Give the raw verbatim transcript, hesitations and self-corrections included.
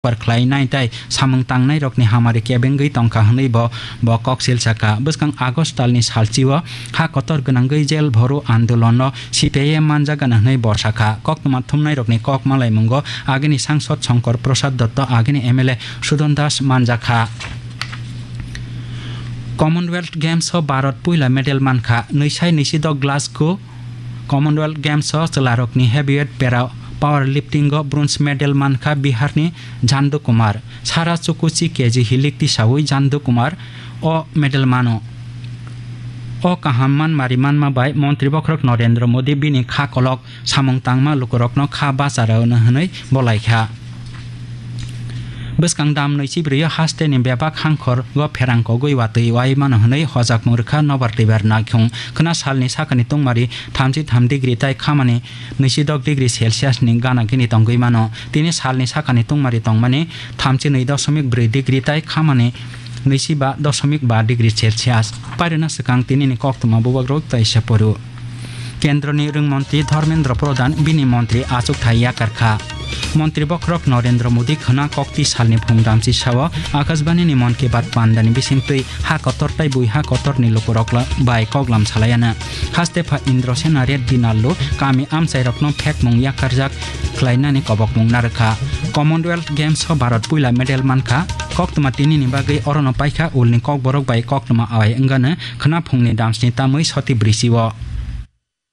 Par khlainai tei samung tangnairokni hamari kebengwi tongkha hwnwi bo, bo koksil sakha. Bwskang August talni salchio ha kotor gwnangwi jel bhoro andolonno C P I M manjagana hwnwi bo sakha. Koktwma thumnairokni kok malaimungo agini sangsod Shankar Prasad Dotto, agini M L A Sudon Das manjakha. Commonwealth Games o Bharat puila medal mankha, nwisai nwisidok Glasgow Commonwealth Games o chwlarokni heavyweight para powerlifting o bronze medal mankha Biharni Jandu Kumar. Sara chukuchi K G hilik tisaui Jandu Kumar o medal mano. O kaham manmari manma bai Montri Bokhorok Narendra Modi bini kha kolok samung tangma lukurokno kha bacha rwno hwnwi bolaikha. Bwskang dam nwi chibrwio hasteni bebak hangkhor go pherang kogwi watwi wai mano hwnwi hojakmung rwkha Nobar Twibar Naikhung. Khwna salni sakani tungmari thamchi tham degree tei khamani nwisidok degree Celsius ni gana gini tongwi mano. Tini salni sakani tungmari tongmani thamchi nwi dosomik brwi degree tei khamani nwichi ba dosomik ba degree Celsius. Pairwna swkang tinini koktwma bubagrok tei se poru. Kendroni Rwngmontri Dharmendra Pradhan bini montri achukthai yakarkha. Montri Bokhorok Narendra Modi khwna kokti salni phung damchi sao Akashbani ni Mann Ki Baat pandani bisingtwi ha kotor tei bui ha kotorni lukurok la-, bai koklam salaiana. Haste pha Indrasena Reddy Nallu kami amchairokno phekmung yakarjak khlainani kobokmung narwkha. Commonwealth Games o Bharat puila medal mankha. Koktwma tinini bagwi orono paikha ulni kokborok bai koktwma awai wngano khwna phungni damsni tamwi soti brisio.